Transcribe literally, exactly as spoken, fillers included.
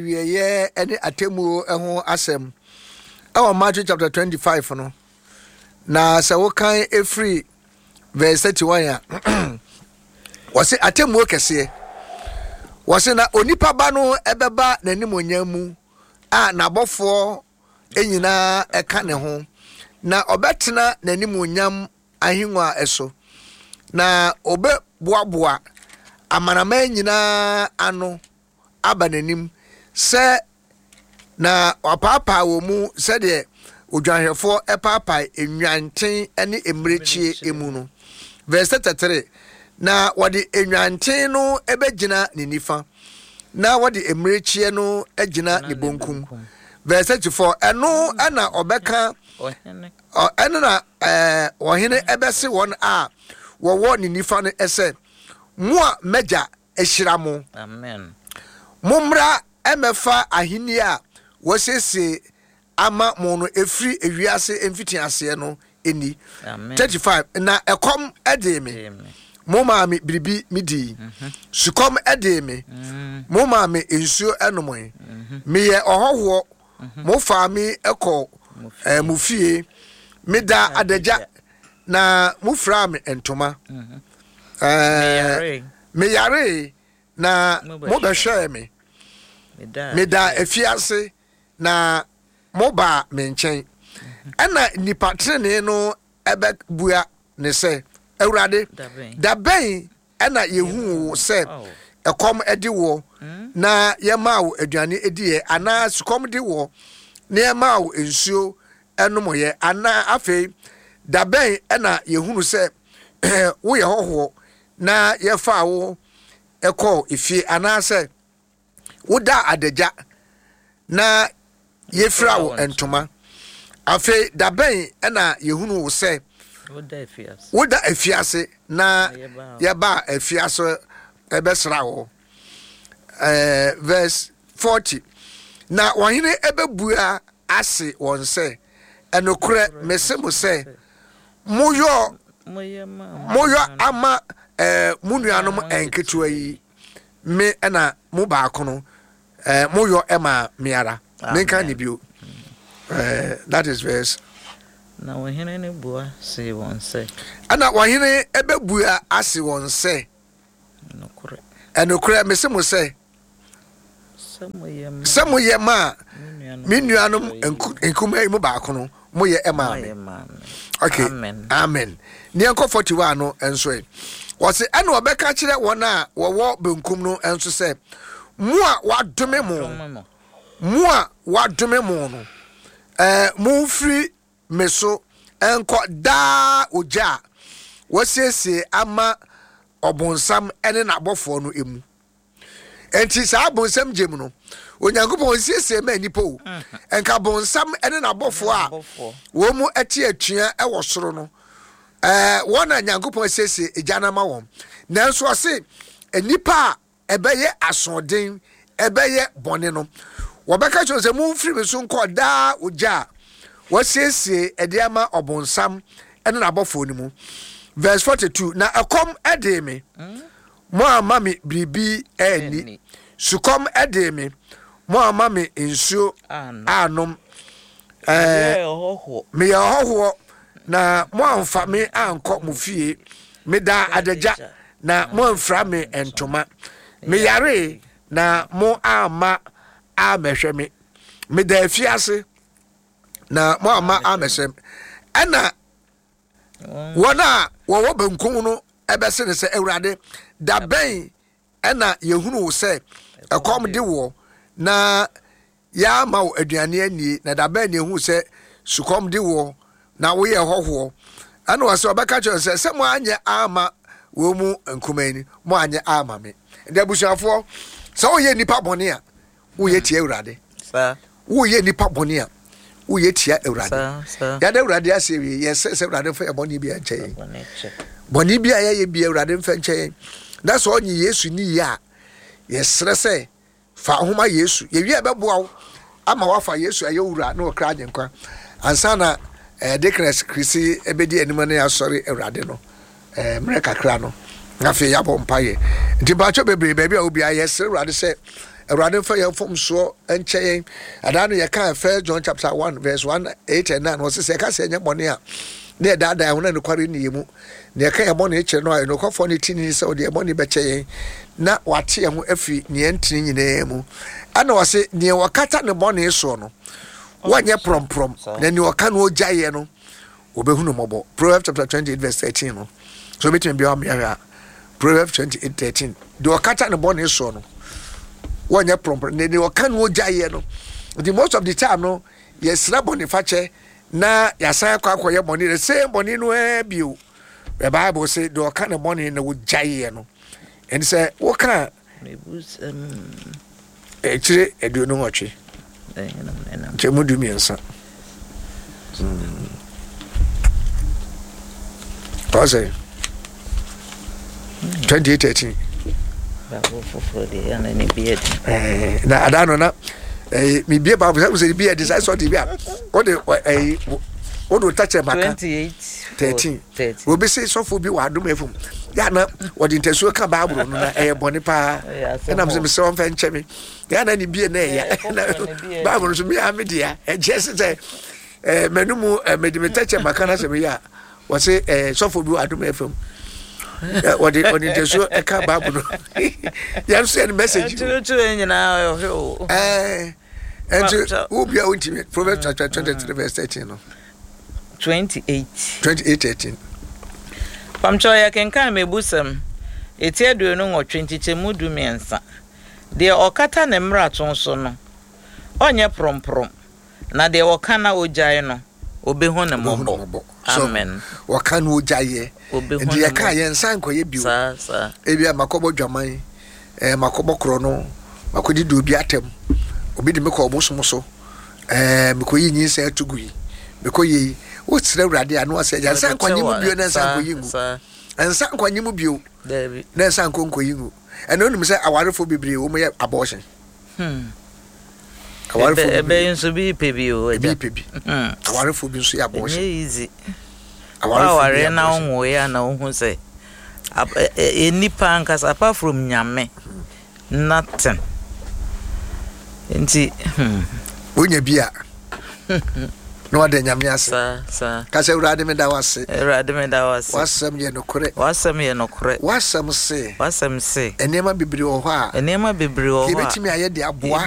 Awieeɛ ne atemmuo ho asɛm ɛwɔ Matthew chapter twenty-five no, na sɛ wokan ɛfiri verse thirty-one a, wɔse atemmuo kɛseɛ. Wɔse na onipa ba no ɛbɛba n'animuonyam mu a n'abɔfoɔ nyinaa ɛka ne ho, na ɔbɛtena n'animuonyam ahengua so, na ɔbɛboaboa amanaman nyinaa ano aba n'anim sɛ na wapaapaa wɔn mu sɛdeɛ odwanhwɛfoɔ paapae nnwanten ne mmirekyie mu no. Verse thirty-three, na wɔde nnwanten no bɛgyina ne nifa, na wɔde mmirekyie no agyina ne bonkum. Verse thirty-four, ɛno na ɔbɛka, ɛno na ɛɛ ɔhene ɛbɛse wɔn a wɔwɔ ne nifa no sɛ, mo a m'agya ahyira mo, Amen. Mommra mmɛfa ahenni a wɔasiesie ama mo no ɛfiri ewiase mfitiaseɛ no ni. Amen. thirty-five na ɛkɔm dee me, mo maa me biribi medii. Sukɔm dee me, mo maa me nsuo nomoe. Meyɛ ɔhɔhoɔ, mo faa me kɔ eh, mo fie. Meda adagya, na mofiraa me ntoma. Eh, meyaree, na mobɛhwɛɛ me. Meda afiase, na mobaa me nkyɛn. Ɛna nnipa tenenee no ɛbɛbua ne sɛ, Awurade, da bɛn ɛna yɛhuu wo sɛ ɛkɔm de woɔ na yɛmaa wo aduane diiɛ, anaa sukɔm de woɔ na yɛmaa wo nsuo nomyɛ? Anaa afei da bɛn ɛna yɛhunu sɛ woyɛ hɔhoɔ na yɛfaa wo kɔɔ efie, anaasɛ woda adagya na yɛfira wo ntoma? Afei da bɛn ɛna yɛhunu wo sɛ woda afiase na yɛbaa afiase ɛbɛsra wo? Ɛɛ verse forty, na ɔhene ɛbɛbua ase wɔn sɛ, ɛnokorɛ mese mo sɛ, moyɔ moyɔ ama ɛɛ mo nuanom nketewa yi, me ɛna mo baako no, ɛɛ moyɔ ɛma me ara. Menka ne bio. ɛɛ that is verse. Na ɔhene no bua see wɔn sɛ. Ɛna ɔhene ɛbɛbua ase wɔn sɛ, Nokorɛ. Ɛnokorɛ mese mo sɛ, sɛ moyɛ maa me nuanom nkumaa yi mu baako no, moyɛ ɛmaa me. Okay, amen. Ne yɛnkɔ forty-one no nso ɛ. Wɔse ɛna ɔbɛka kyerɛ wɔn a wɔwɔ benkum no nso sɛ, mo a wadome mo, mo a wadome mo no, ɛɛ momfiri me so nkɔ daa ogya a wɔasiesie ama ɔbonsam ne n'abɔfoɔ no mu. Enti saa bonsam gye mu no, Onyankopɔn nsiesie ma nnipa o. Nka bonsam ne n'abɔfoɔ a wɔn mu te atua wɔ soro no, ɛɛ wɔn na Nyankopɔn asiesie egya no ama wɔn. Nanso ɔse nnipa a ɛbɛyɛ asoɔden, ɛbɛyɛ bɔne no, wɔbɛka kyerɛ sɛ, momfiri me so nkɔ daa ogya a wɔasiesie ɛde ama ɔbonsam ne n'abɔfoɔ no mu. Verse forty-two, na ɛkɔm dee me, mo amma me biribi anni. Sukɔm dee me, mo amma me nsuo anom. Ɛɛ meyɛ ɔhɔhoɔ, na mo amfa me ankɔ mo fie. Medaa adagya, na mo amfira me ntoma. Meyaree, na mo amma ammɛhwɛ me. Meda afiase, na mo amma ammɛhwɛ me. Ɛna wɔn a wɔwɔ benkum no ɛbɛse ne sɛ, Awurade, da bɛn ɛna yɛhunu wo sɛ ɛkɔm de woɔ na yɛama wo aduane anie, na da bɛn na yɛhunu sɛ sukɔm de woɔ na woyɛ hɔhoɔ? Ɛna ɔsɛ ɔbɛka kyerɛ sɛ, sɛ mo anyɛ ama wɔn mu nkumaa ni, mo anyɛ ama me. Nti abusuafoɔ, sɛ woyɛ nipa bɔne a, woyɛ tia Awurade. Woyɛ nipa bɔne a, woyɛ tia Awurade. Yɛada Awurade ase awie. Yɛsɛ sɛ Awurade mfa yɛ bɔne bi nkyɛ yɛn. Bɔne bi a yɛyɛ bi Awurade mfa nkyɛ yɛn. Na sɛ ɔnye Yesu ni yie a, yɛsrɛ sɛ fa ho ma Yesu. Yɛwie a ɛbɛboa wo ama wafa Yesu ayɛ wura na ɔkra agyenkwa. Ansa na eh, Deaconess Krisi ɛbɛdi anim ne asɔre Awurade no eh, mmerɛ kakra no, na afei yɛabɔ mpayɛ. Nti mpakyɛ bebree baabi a obiara, yɛsrɛ Awurade sɛ Awurade mfa yɛn mfomsoɔ nkyɛ yɛn. Adaa no yɛka First John chapter one verse one eight and nine, wɔsɛ sɛ yɛka sɛ ɛnyɛ bɔne a, na yɛdaadaa yɛn ho na nokware nni yɛn mu. Na yɛka yɛn bɔne kyerɛ no a, ɛnokwafoɔ ne tini sɛ ɔde yɛn bɔne bɛkyɛ yɛn na wate yɛn ho afiri nea ɛntene nyinaa mu. Ɛna wɔse nea wɔkata ne bɔne soɔ no, wɔnyɛ prɔmprɔm, na nea ɔka no ɔgyaeɛ no, wɔbɛhunu mmɔbɔ. Proverbs chapter twenty-eight verse thirteen no, so wobɛtumi bia wamea hwɛ a, Proverbs twenty-eight thirteen, deɛ ɔkata ne bɔne soɔ no, wɔnyɛ prɔmprɔm, na deɛ ɔka no ɔgyaeɛ no. Nti most of the time no, yɛsrɛ bɔne fakyɛ na yɛasan akɔ akɔyɛ bɔne, the same bɔne no ara bio. The Bible say deɛ ɔka ne bɔne na wɔgyaeɛ no, ɛne sɛ woka akyire aduonu nwɔtwe nkyɛn mu du mmiɛnsa. Ɔsɛ twenty-eight thirteen. Na adaa no na mebie Bible sɛ sɛ bi ɛde sɛ sɛ bi a wode ɛyi wode wo takyɛ maka thirteen. Obi se sɔfo bi wɔ Adom F M ya na wɔde ntasuo ka Bible no na ɛyɛ bɔne paa. Ɛnam sɛ mesɛ wɔmfa nkyɛ me ya na ne bie na ɛya Bible no so mea me dea ɛkyɛ sɛ sɛ m'ano mu mede me takyɛ maka no sɛ meyɛ a wɔse sɔfo bi wɔ Adom F M wɔde wɔde ntasuo ɛka Bible no yɛn nso yɛ no message ɛɛ ɛnti wo bia wontumi. Proverbs chapter twenty-three verse thirteen no, twenty-eight twenty-eight thirteen. Pamkyɛw yɛ kenkan mebusɛm eti aduonu nwɔtwe nkyekyɛmu du mmiɛnsa. Deɛ ɔkata ne mmarato so no, ɔnyɛ prɔmprɔm, na deɛ ɔka na ogyae no, obehu ne mmɔbɔ. Amen. Wɔka no ogyaeɛ. Nti yɛka yɛn nsa nkɔyɛ bio. Saa saa. Ebi a makɔbɔ dwaman, ɛɛ makɔbɔ korɔ no, makɔdi di obi atɛm, obi de me kɔ ɔbosom so, ɛɛ mekɔyi nyinsɛn ato gu yi, mekɔ yɛ yi. Wosrɛ Awurade a na wasɛ yɛn nsa nkɔnye mu bio na nsa nkɔyi ngu. Nsa nkɔnye mu bio na nsa nkɔ nkɔyi ngu. Ɛna onim sɛ awarefo bebree wɔn yɛ abortion. Hmm. Awarefo bebree nso bi pɛ bi o. Ebi pɛ bi. Awarefo bi nso yɛ abortion. Ɛnyɛ easy. Awarefo na wɔn yɛ na wɔn ho sɛ nipa ankasa apart from Nyame nothing. Nti hmm. Wonya bi a na wada Nyame ase. Saa saa. Kasa Awurade meda wo ase. Awurade meda wo ase. W'asɛm yɛ nokorɛ. W'asɛm yɛ nokorɛ. W'asɛm se. W'asɛm se. Nneɛma bebree wɔ hɔ a. Nneɛma bebree wɔ hɔ a. Yɛbɛtumi ayɛ de aboa.